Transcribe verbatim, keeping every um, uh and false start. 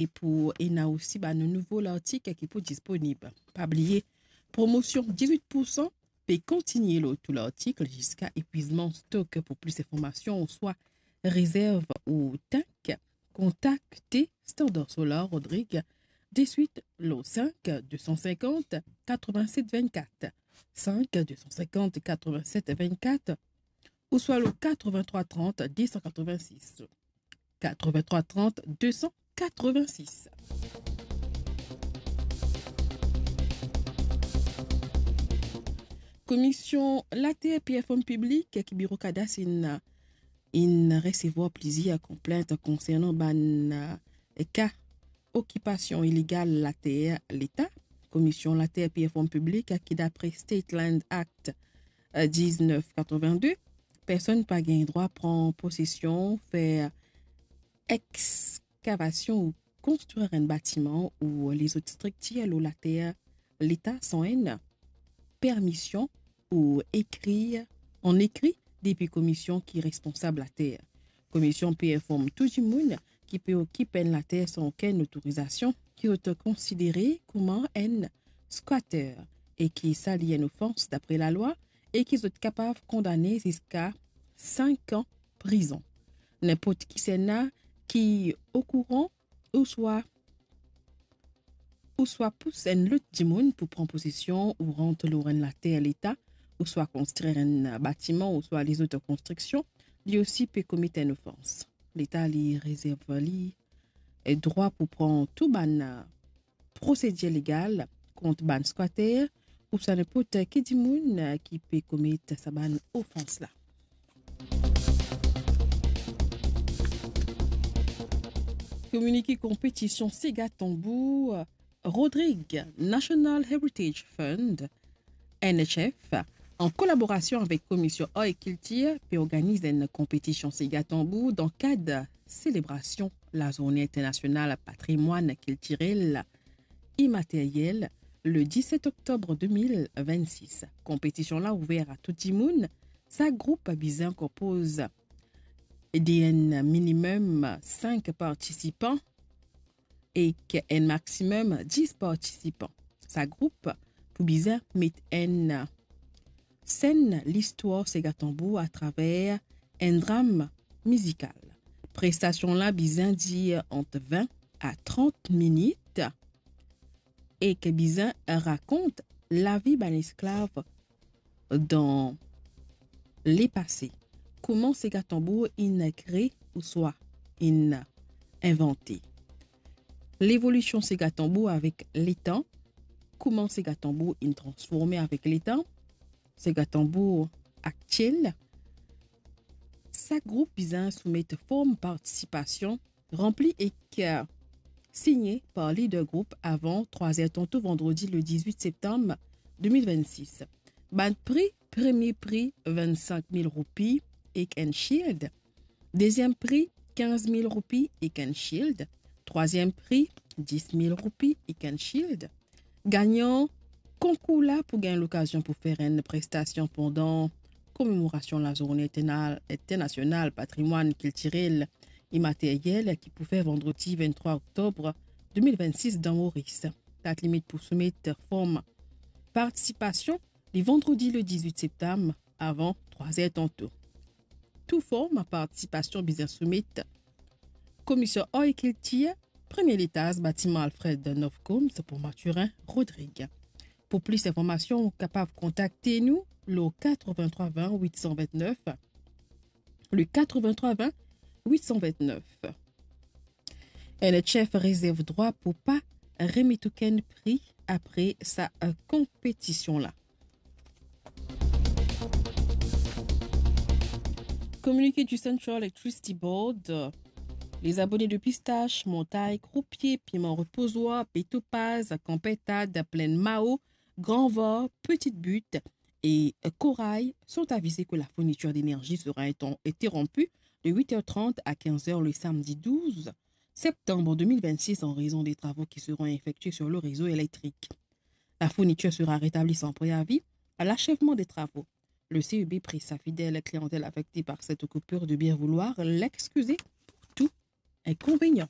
e pou ena osi bann nouvo lartik ki pou disponib. Pa bliye, promosion dizwit pou san pe kontigne lor tou lartik ziska epwizman stok. Pou plis informasion ouswa rezerv ou tank, kontakte Standard Solar Rodrigues diswit lor cinq deux cent cinquante quatre-vingt-sept vingt-quatre, cinq deux cent cinquante quatre-vingt-sept vingt-quatre, ouswa lor quatre-vingt-trois trente deux cent quatre-vingt-six, quatre-vingt-trois trente deux cent quatre-vingt-six. Komisyon Later, P F Home Piblik ki Biro Kadas inn, inn resevwar plizier konplint konsernan bann, eh, ka okipasion ilegal later Leta. Komisyon Later, P F Home Piblik ki, dapre State Land Act, eh, diznef katrovin-de, personn pa gagn drwa pran posesion, fer ekskavasion ou konstrir enn batiman ou lezot striktir lor later Leta san enn permision ou ekrir an ekri depi komisyon ki responsab later. Komisyon pe inform tou dimoun ki pe okip enn later san okenn otorizasion ki zot konsidere kouma enn squatter e ki sa li enn ofans dapre lalwa e ki zot kapav kondane ziska sink an prizon. Ninport kisannla ki okouran ouswa, ouswa pous enn lot dimoun pou pran posesion ou rant lor enn later Leta, ouswa konstrir enn batiman, ouswa lezot konstriksion, li osi pe komet enn ofans. Leta li rezerv li, eh, drwa pou pran tou bann, eh, prosedir legal kont bann squatter ouswa ninport ki dimoun, eh, ki pe komet sa bann ofans la. Kominike konpetision Sega Tanbou, eh, Rodrigues National Heritage Fund, N H F, an kolaborasion avek Komisyon Ar e Kiltir, pe organiz enn konpetision Sega Tanbou dan kad selebrasion Lazourne Internasional Patrimwann Kiltirel Imateryel, le diset oktob de mil vennsis. Konpetision la ouver a tou dimoun. Sak group bizin konpoz de enn minimem sink partisipan ek enn maximem dis partisipan. Sak group pou bizin met an senn listwar Sega Tanbou atraver enn dram mizikal. Prestasion la bizin dir ant vin a trant minit ek bizin rakont lavi bann esklav dan lepase, kouma Sega Tanbou inn kre ouswa inn invante, levolision Sega Tanbou avek letan, kouma Sega Tanbou inn transforme avek letan, Sega Tanbou aktiel. Sak group bizin soumet form partisipasion ranpli ek, eh, signe par lider group avan trwa zer tanto vandredi le dizwit septam de mil vennsis. Bann pri: premie pri, vinn-sink mil roupi ek enn shield. Deziem pri, kinz mil roupi ek enn shield. Trwaziem pri, dis mil roupi ek enn shield. Gagnan konkour la pou gagn lokazion pou fer enn prestasion pandan komemorasion Lazourne Interna-, Internasional Patrimwann Kiltirel Imateryel ki pou fer vandredi vinn-trwa oktob de mil vennsis dan Moris. Dat limit pou soumet form partisipasion, li vandredi le dizwit septam avan trwa zer tanto. Tou form partisipasion bizin soumet Komisyon Ar e Kiltir, premie letaz, batiman Alfred Nofcom, Pont Mathurin, Rodrig. Pou plis informasion, ou kapav kontakte nou lor katrevin-trwa vin wit san vintnef, le katrevin-trwa vin wit san vintnef. N H F rezerv drwa pou pa remet okenn pri apre sa, eh, konpetision la. Communiqué du Central Electricity Board, les abonnés de Pistache, Montaille, Croupier, Piment Reposoir, Baie Topaz, Camp Pintade, Plaine Mao, Grand Var, Petite Butte et Corail sont avisés que la fourniture d'énergie sera inter-, interrompue de huit heures trente à quinze heures le samedi douze septembre deux mille vingt-six en raison des travaux qui seront effectués sur le réseau électrique. La fourniture sera rétablie sans préavis à l'achèvement des travaux. Le C E B prie sa fidèle clientèle affectée par cette coupure de bien vouloir l'excuser pour tout inconvénient.